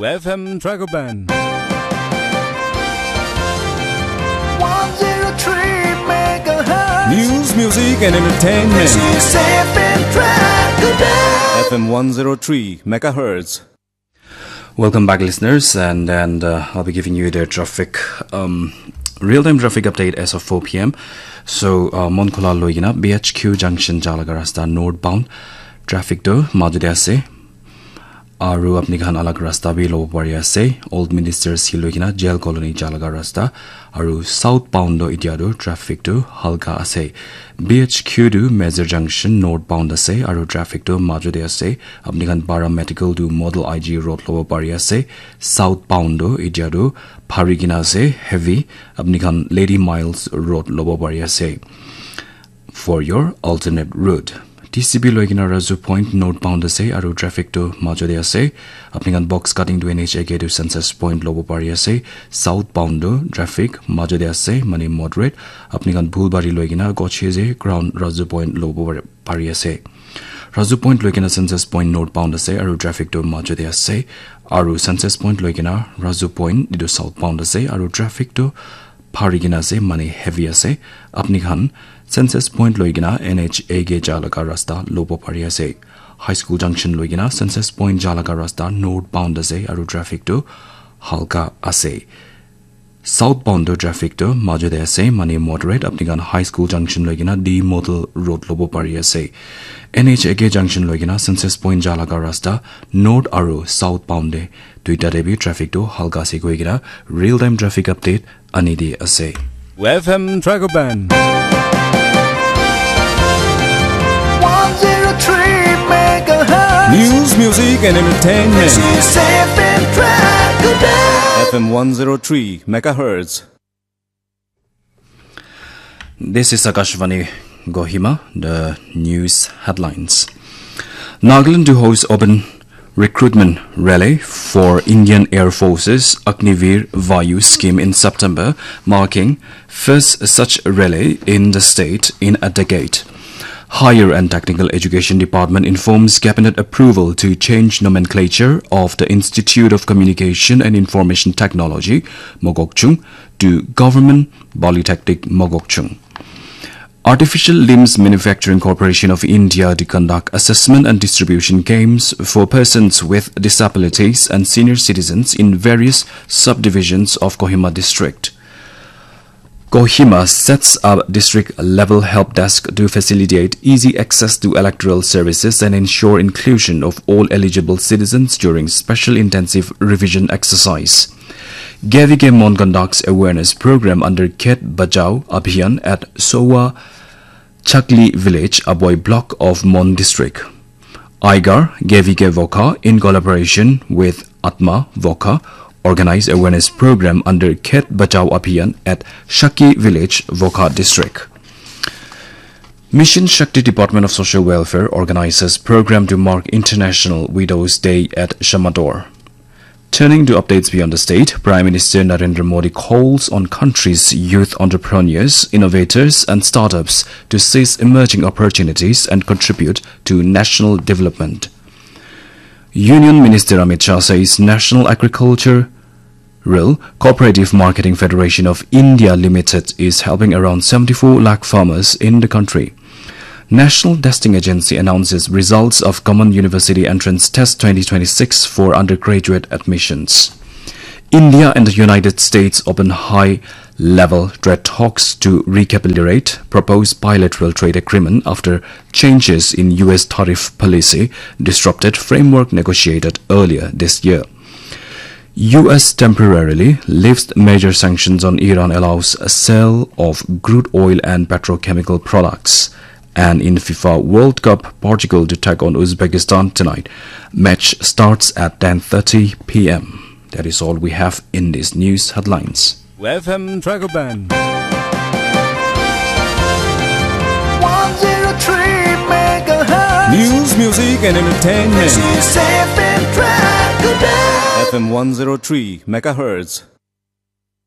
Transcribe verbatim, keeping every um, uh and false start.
F M Dragon Band. one zero three megahertz. News, music, and entertainment. This is F M Dragon Band. F M one zero three megahertz. Welcome back, listeners, and and uh, I'll be giving you the traffic, um, real-time traffic update as of four p m. So, uh, Monkhola loigina B H Q junction jalaga rasta northbound traffic to majude ase. Aru apni khan alag rasta bi lobo pari ase. Old Ministers Hill loigina Jail Colony jalaga rasta. Aru southbound to itia to traffic to halka ase. B H Q to Major Junction northbound ase. Aru traffic to majude ase. Apni khan Para Medical to Model I G Road lobo pari ase. Southbound to itia to phari kina ase. Heavy. Apni khan Lady Miles Road lobo pari ase. For your alternate route. T C B loigina Razu Point northbound ase aru traffic to majude ase. Apni khan Box Cutting to N H A K to Census Point lobo pari ase. Southbound to traffic majude ase, mane moderate. Apni khan Bhulbari loigina Gochheze Ground Razu Point lobo pari- pari ase. Razu Point loigina Census Point northbound ase aru traffic to majude ase. Aru Census Point loigina Razu Point itu southbound ase aru traffic to phari kina ase, mane heavy ase. Apni khan Census Point loigina N H A K jalaga rasta lobo pari ase. High School Junction loigina Census Point jalaga rasta northbound ase aru traffic to halka ase. Southbound to traffic to majude ase, mane moderate. Apni khan High School Junction loigina D Model Road lobo pari ase. N H A K Junction loigina Census Point jalaga rasta north aru southbound de duita de bi traffic to halka ase koigina real time traffic update ani di ase. F M Dragon Band. one zero three megahertz. News, music, and entertainment. This is F M Dragon Band. F M one zero three megahertz. This is Akashvani Kohima, the news headlines. Nagaland to host open recruitment rally for Indian Air Force's Agniveer Vayu scheme in September, marking first such rally in the state in a decade. Higher and Technical Education Department informs cabinet approval to change nomenclature of the Institute of Communication and Information Technology, Mokokchung, to Government Polytechnic Mokokchung. Artificial Limbs Manufacturing Corporation of India to conduct assessment and distribution games for persons with disabilities and senior citizens in various subdivisions of Kohima district. Kohima sets up district level help desk to facilitate easy access to electoral services and ensure inclusion of all eligible citizens during special intensive revision exercise. Gavige Mon conducts awareness program under Khet Bachao Abhiyan at Sowa Chakli village, Aboi block of Mon district. Aigar Gavige Vokha, in collaboration with Atma Vokha, organize awareness program under Khet Bachao Abhiyan at Shaki village, Vokha district. Mission Shakti Department of Social Welfare organizes program to mark International Widows Day at Shamator. Turning to updates beyond the state, Prime Minister Narendra Modi calls on country's youth entrepreneurs, innovators, and startups to seize emerging opportunities and contribute to national development. Union Minister Amit Shah says National Agriculture Rural Cooperative Marketing Federation of India Limited is helping around seventy-four lakh farmers in the country. National Testing Agency announces results of Common University Entrance Test twenty twenty-six for undergraduate admissions. India and the United States open high level trade talks to recalibrate proposed bilateral trade agreement after changes in U S tariff policy disrupted framework negotiated earlier this year. U S temporarily lifts major sanctions on Iran, allows a sale of crude oil and petrochemical products. And in FIFA World Cup, Portugal to take on Uzbekistan tonight. Match starts at ten thirty p m. That is all we have in these news headlines. F M Dragon Band. one zero three megahertz. News, music, and entertainment. This is F M Dragon Band. F M one zero three megahertz.